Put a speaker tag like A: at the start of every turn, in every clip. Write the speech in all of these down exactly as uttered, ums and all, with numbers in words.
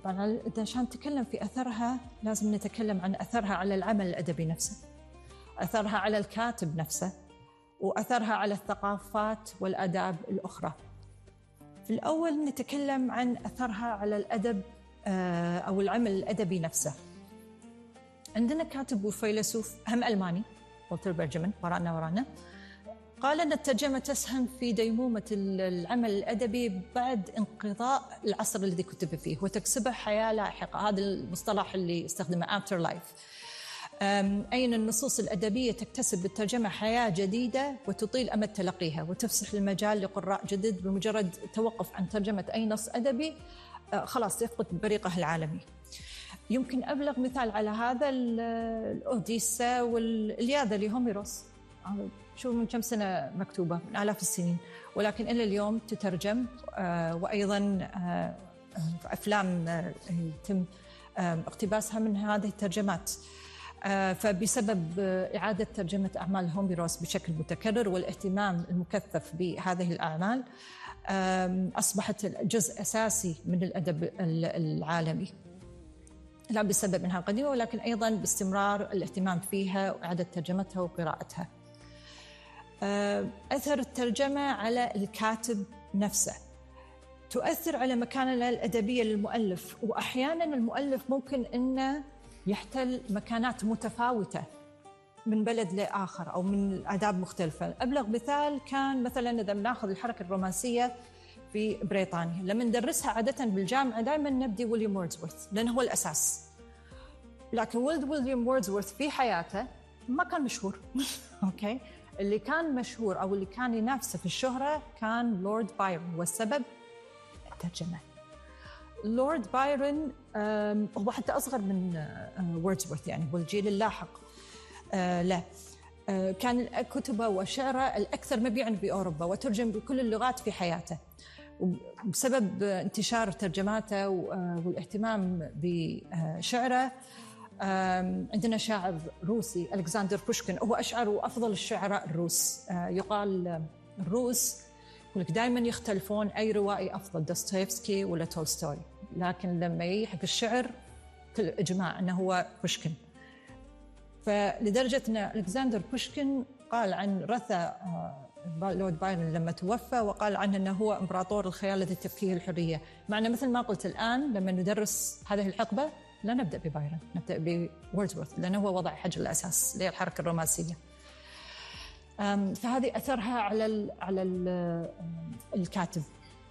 A: طبعاً عشان نتكلم في أثرها لازم نتكلم عن أثرها على العمل الأدبي نفسه، أثرها على الكاتب نفسه، وأثرها على الثقافات والآداب الأخرى. في الأول نتكلم عن أثرها على الأدب أو العمل الأدبي نفسه. عندنا كاتب وفيلسوف هم ألماني والتر بنجامين ورانا ورانا قال أن الترجمة تسهم في ديمومة العمل الأدبي بعد انقضاء العصر الذي كتب فيه وتكسبه حياة لاحقة. هذا المصطلح اللي استخدمه after life، أي أن النصوص الأدبية تكتسب بالترجمة حياة جديدة وتطيل أمد تلقيها وتفسح المجال لقراء جدد. بمجرد توقف عن ترجمة أي نص أدبي خلاص يفقد بريقه العالمي. يمكن أبلغ مثال على هذا الأوديسا والإلياذة لهوميروس، شو من كم سنة مكتوبة، من آلاف السنين، ولكن إلى اليوم تترجم، وأيضا أفلام يتم اقتباسها من هذه الترجمات. فبسبب إعادة ترجمة أعمال هوميروس بشكل متكرر والاهتمام المكثف بهذه الأعمال أصبحت جزء أساسي من الأدب العالمي، لا بسبب أنها قديمة ولكن أيضا باستمرار الاهتمام فيها وإعادة ترجمتها وقراءتها. أثر الترجمة على الكاتب نفسه، تؤثر على مكانة الأدبية للمؤلف، وأحيانا المؤلف ممكن أنه يحتل مكانات متفاوتة من بلد لآخر أو من آداب مختلفة. أبلغ مثال كان مثلا إذا بناخذ الحركة الرومانسية في بريطانيا، لما ندرسها عادة بالجامعة دائما نبدي ويليام ووردزورث لأنه هو الأساس، لكن ولد ويليام ووردزورث في حياته ما كان مشهور أوكي، اللي كان مشهور أو اللي كان ينافسه في الشهرة كان لورد بايرون، والسبب الترجمة. لورد بايرون هو حتى أصغر من ووردزورث يعني، والجيل اللاحق لا، كان كتبه وشعره الأكثر مبيعاً بأوروبا وترجم بكل اللغات في حياته. وبسبب انتشار ترجماته والاهتمام بشعره عندنا شاعر روسي ألكسندر بوشكين، هو أشعر أفضل الشعراء الروس. يقال الروس يقولك دائما يختلفون أي روائي أفضل، دوستويفسكي ولا تولستوي، لكن لما يحق الشعر كل إجماع أنه هو بوشكين. فلدرجة أن ألكسندر بوشكين قال عن رثا لورد بايرون لما توفى، وقال عنه أنه هو إمبراطور الخيال الذي تبكيه الحرية. معنا مثل ما قلت الآن لما ندرس هذه الحقبة لا نبدأ ببايرون، نبدأ بوردزورث لأنه هو وضع حجر الأساس للحركة الرومانسية. فهذه أثرها على ال على ال الكاتب.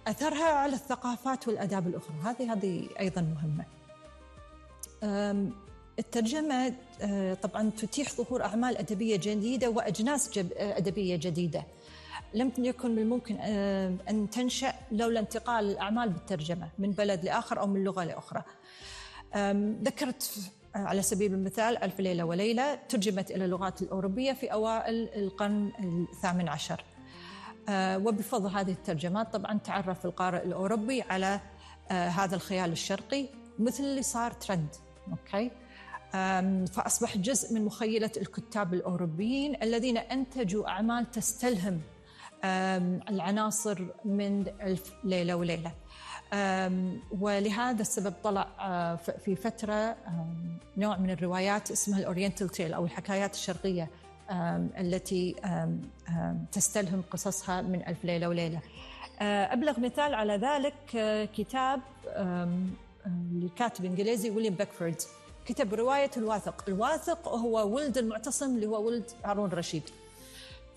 A: أثرها على الثقافات والآداب الأخرى، هذه هذه أيضا مهمة. الترجمة طبعا تتيح ظهور أعمال أدبية جديدة وأجناس أدبية جديدة لم يكن من الممكن أن تنشأ لولا انتقال الأعمال بالترجمة من بلد لآخر أو من لغة لأخرى. ذكرت على سبيل المثال ألف ليلة وليلة ترجمت إلى اللغات الأوروبية في أوائل القرن الثامن عشر، وبفضل هذه الترجمات طبعا تعرف القارئ الأوروبي على هذا الخيال الشرقي مثل اللي صار ترند أوكي. فأصبح جزء من مخيلة الكتاب الأوروبيين الذين أنتجوا أعمال تستلهم العناصر من ألف ليلة وليلة. ولهذا السبب طلع في فترة نوع من الروايات اسمها الأورينتال تيل أو الحكايات الشرقية التي تستلهم قصصها من ألف ليلة وليلة. أبلغ مثال على ذلك كتاب لكاتب إنجليزي ويليام بيكفورد، كتب رواية الواثق. الواثق هو ولد المعتصم اللي هو ولد هارون الرشيد،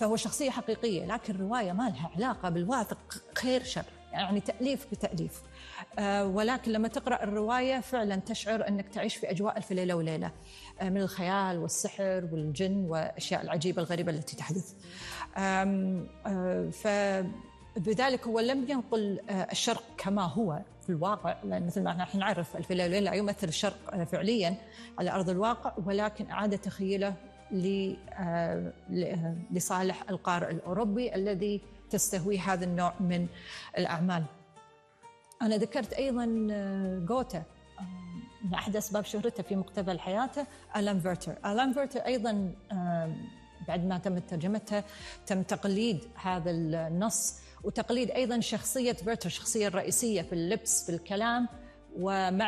A: فهو شخصية حقيقية، لكن الرواية ما لها علاقة بالواثق، خير شر يعني تأليف بتأليف. آه ولكن لما تقرأ الرواية فعلا تشعر أنك تعيش في أجواء ألف ليلة وليلة آه من الخيال والسحر والجن والأشياء العجيبة الغريبة التي تحدث. آه آه فبذلك هو لم ينقل آه الشرق كما هو في الواقع، لأن مثل ما نحن نعرف ألف ليلة وليلة يمثل الشرق فعليا على أرض الواقع، ولكن أعاد تخيله لصالح القارئ الأوروبي الذي تستهوي هذا النوع من الأعمال. أنا ذكرت أيضا غوتا، من أحد أسباب شهرته في مقتبل حياته ألان فيرتر. ألان فيرتر أيضا بعد ما تم ترجمتها تم تقليد هذا النص وتقليد أيضا شخصية فيرتر، الشخصية الرئيسية في اللبس في الكلام ومع